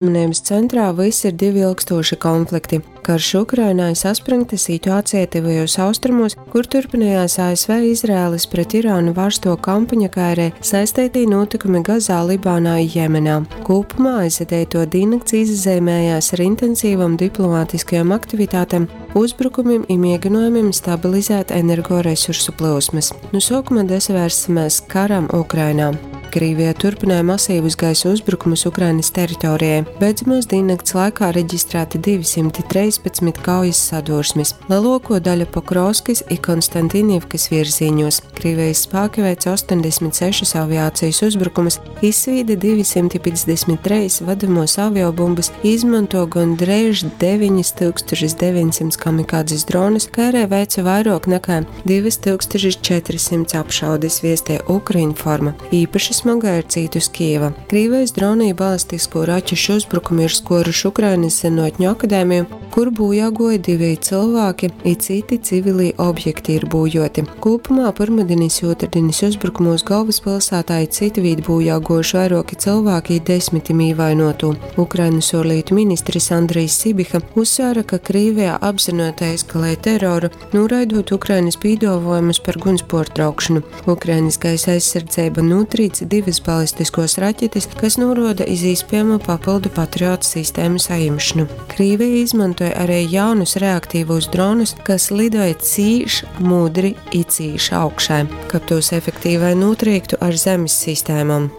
Uzmanības centrā vys ir divi ilgstūši konflikti - karš Ukrainā i saspryngta situācija Tyvajūs Austrumūs, kur turpinājās ASV Izraēlas pret Irānu vārsto kampaņa, kā arī saisteitī nūtykumi Gazā, Libānā i Jemenā. Kūpumā aizadeituo dīnnakts izazeimējās ar intensīvom diplomātiskajom aktivitātem, uzbrukumim i mieginuojumim stabilizēt energoresursu plyusmys. Nu suokuma dasavērsimēs karam Ukrainā. Krīvija turpināja masīvus gaisa uzbrukumus Ukrainas teritorijai. Beidzamās dīnnakts laikā reģistrēti 213 kaujas sadursmes, leluokuo daļa Pokrovskys i Konstantinivkys virzīņos. Krīvijas spāki veica 86 aviācijas uzbrukumus, izsvīda 253 vadamos aviobumbas, izmanto gondreiž 9900 kamikadzes dronus, kā arī veica vairuok nekā 2400 apšaudes, viestē Ukrinforma. Īpaši smagai ir cītus Kijeva. Krīvijas dronu i balistisko raķešu uzbrukumi ir skuoruši Ukrainys Zynuotņu akadēmiju, kur būjā guoja diveji cylvāki i cyti civilī objekti ir būjuoti. Kūpumā pyrmudinis i ūtrdinis uzbrukumūs golvyspylsātā i cytvīt būjā guojuši vairuoki cylvāki i desmitim īvainuotū. Ukrainys uorlītu ministris Andrijs Sibiha uzsvēra, ka Krīvija apzynuotai eskalej teroru, nūraidūt Ukrainys pīduovuojumus par guņs puortraukšonu. Ukrainys gaisa aizsardzeiba nūtrīc divys balistiskuos raķetis, kas nūruoda iz īspiejamu papyldu Patriot sistēmu sajimšonu. Krīvija izmontoj ari jaunus reaktīvūs dronus, kas lidoj cīš mudri i cīš augšai, kab tūs efektīvai nūtrīktu ar zemis sistēmom.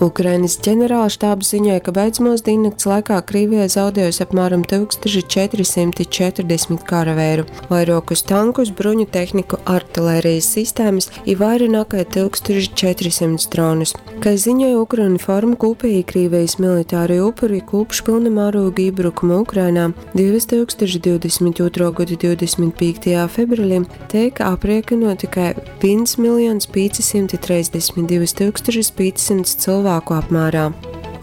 Ukrainas ģenerālštābs ziņoja, ka beidzamos dīnnakts laikā Krīvija zaudējusi apmēram 1440 karaveiru, vairuokus tankus, bruņu tehniku, artilērijas sistēmas i vaira nakai 1400 dronus. Kai ziņoja Ukrinform, kūpēji Krīvijas militārī upuri kūpš pylna mārūga ībrukuma Ukrainā 2022. Gada 25. februarī teik apriekinuoti kai 1 532 500 cylvāku apmērā.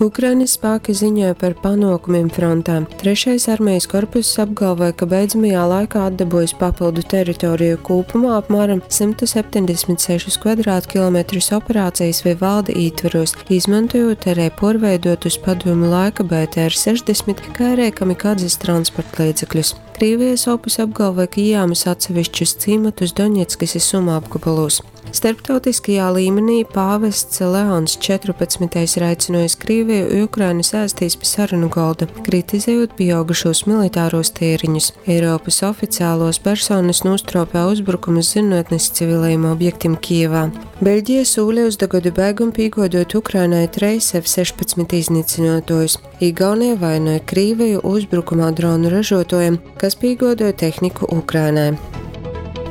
Ukrainas spāki ziņoja par panuokumim frontē. Trešais armijas korpuss apgalvoja, ka beidzamajā laikā atdabūjis papildu teritoriju kūpumā apmēram 176 kvadrātkilometrus operācijas Vivaldi ītvaros, izmantojot arī puorveidotus padomju laika BTR-60, kā arī kamikadzes transportlīdzekļus. Krīvijas opus apgalvoja, ka ījāmis atsevišķus cīmatus Doņetskas i Sumu apgabalos. Starptautiskajā līmenī pāvests Leons 14. ir aicinojis Krīviju i Ukrainu sēstīs pi sarunu golda, kritizejot pieaugušos militāros tēriņus. Eiropas oficiālos personas nūstropē uzbrukumus zynuotnis civilajim objektim Kijevā. Beļģija sūļa uz da godu beigom pīguoduot Ukrainai treis F-16 iznycynuotuojus. Igaunija vainoja Krīviju uzbrukumā dronu ražuotuojam, kas pīguoduoja tehniku Ukrainai.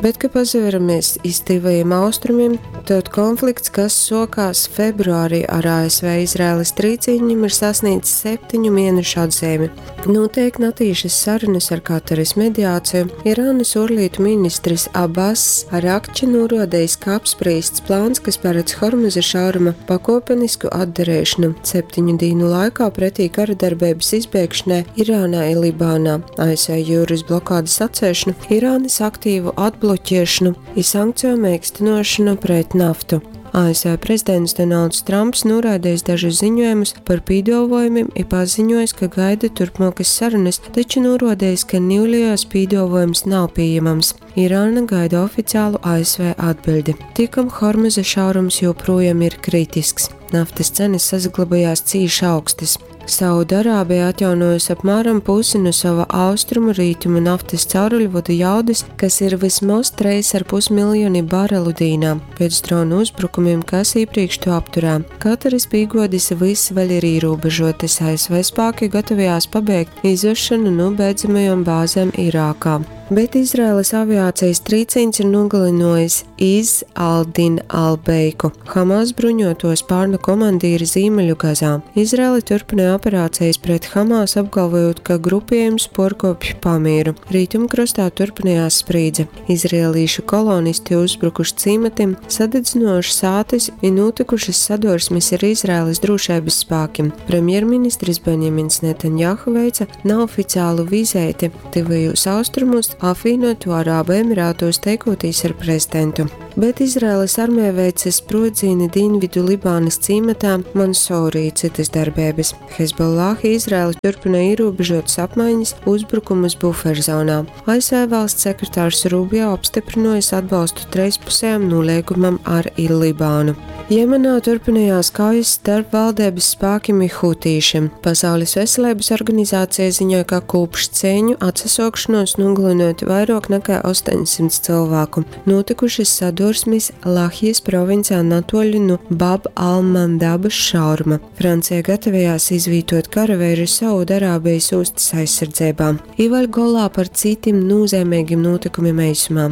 Bet, ka pasaveramies iz Tyvajiem Austrumiem, tod konflikts, kas suokās februārī ar ASV-Izraēlas trīcīņiem, ir sasniedzis septiņu mienešu atzeimi. Nūteik natīšas sarunas ar Kataras mediāciju. Irānas uorlītu ministris Abass Arakči nūruodejs, ka apsprīsts plāns, kas paredz Hormuza šauruma pakuopenisku atdareišonu septiņu dīnu laikā pretī karadarbeibys izbeigšanai Irānā i Libānā, ASV jūrys blokādys atceļšonu, Irānys aktīvu atbloķiešonu i sankceju meikstynuošonu pret naftu. ASV prezidents Donalds Tramps noraidījis dažus ziņojumus par pīduovojumim i paziņojis, ka gaida turpmuokys sarunys, taču nūruodejis, ka niulejos pīduovojums nav pījemams. Irāna gaida oficiālu ASV atbiļdi. Tikom Hormuza šaurums joprojām ir kritisks. Naftas cenas sasaglabājās cīši augstys. Saudarābija atjaunojusi apmēram pusi nu sava austrumu rītumu naftas cauruļvodu jaudys, kas ir vysmoz 3,5 miljoni barelu dīnā, pēc dronu uzbrukumiem, kas īprīkš to apturē. Kataras pīgodis vys vēļ ir īrūbežuotys, ASV spāki gatavojās pabeigt izvešanu nu beidzamajom bāzem Irākā. Bet Izraēlas aviācijas trīcīņs ir nogalinojis Iz al-Din al-Beiku, Hamas bruņoto spārnu komandīri Zīmeļu Gazā. Izraela turpināja operācijas pret Hamas, apgalvojot, ka grupiejums porkopj pamieru. Rītumkrostā turpinājās sprīdze. Izraēlīšu kolonisti uzbrukuši cīmatim, sadedzinojuši sātis i nūtykušas sadursmis ar Izraēlas drūšeibys spākim. Premjerministris Benjamins Netanjahu veica naoficiālu vizeiti Tyvajūs Austrumūs, apvīnuoto Arābu Emirātūs teikūtīs ar prezidentu. Bet Izraēlas armija veice sprūdzīni dīnvidu Libānas cīmatā Mansourī cytas darbeibas. Hezbollah Izraela turpina ierobežotas apmaiņas uzbrukumus buferzonā. ASV valsts sekretārs Rubio apstiprinājis atbalstu trīspusējam nolīgumam ar Libānu. Jemenā turpinājās kaujas starp valdības spēkiem un hutīšiem. Pasaules veselības organizācija ziņoja, ka kopš cīņu atsasokšanos nogalinot vairāk nekā 800 cilvēku. Notikušas sadursmes Lahijas provincē natoļu no Bab al-Mandabas šauruma. Francija gatavojās izvītot karavīru Saudarābijas ostas aizsardzībā. Ivaļ golā par citiem nozīmīgiem notikumiem eisumā.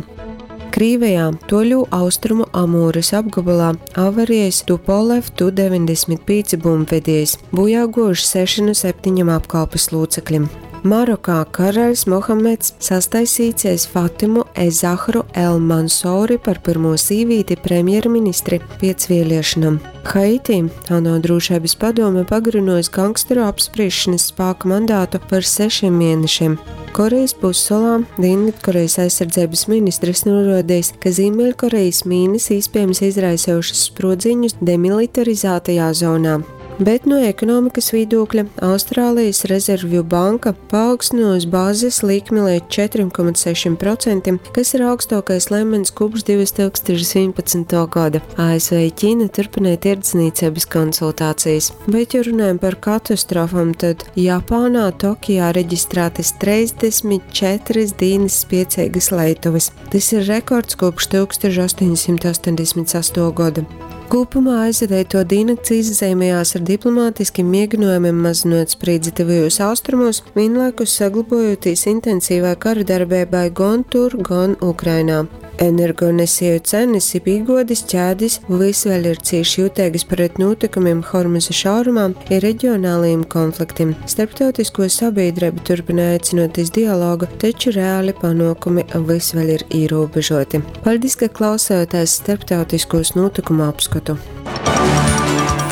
Krīvijā, Toļu austrumu Amūras apgabalā avarijas Tupolev Tu-95 bumbvedējs, bojā guvuši 6 no 7 apkalpes locekļiem. Marokā karalis Mohameds sastaisīcies Fatimu Ezahru El Mansouri par pirmo sīvīti premjerministri pēc vēlēšanām. Haiti ANO drošības padome pagarinājusi gangsteru apspriešanas spēka mandātu par 6 mēnešiem. Korejas pussalā Dienvidkorejas aizsardzības ministrs norādījis, ka Ziemeļkorejas mīnas iespējams izraisījušas sprodziņus demilitarizētajā zonā. Bet no ekonomikas viedokļa Austrālijas rezervju banka paaugstinājusi bāzes likmi līdz 4,6%, kas ir augstākais līmenis kopš 2011. gada. ASV Ķīna turpināja tirdzniecības konsultācijas. Bet, ja runājam par katastrofām, tad Japānā Tokijā reģistrētas 34 dienas spiecīgas leituvas. Tas ir rekords kopš 1888. gada. Kopumā aizvadīto diennakts izzīmējās ar diplomātiskiem mēģinājumiem mazinot spriedzi tuvajos austrumos, vienlaikus saglabojoties intensīvai kara darbībai gan tur, gan Ukrainā. Energonesēju cenas ir pīgodis ķēdes vis vēl ir cieši jūtīgas pret notikumiem Hormuza šaurumā ir reģionālajiem konfliktiem. Starptautisko sabiedrību turpina aicinot iz dialogu, taču reāli panākumi vis vēl ir ierobežoti. Paldies, ka klausāties starptautiskos notikumu apskatu.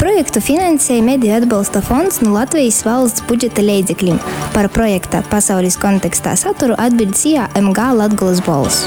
Projektu finansēja Mediju atbalsta fonds no Latvijas valsts budžeta līdzekļiem. Par projekta pasaules kontekstā saturu atbild SIA MG Latgulas bols.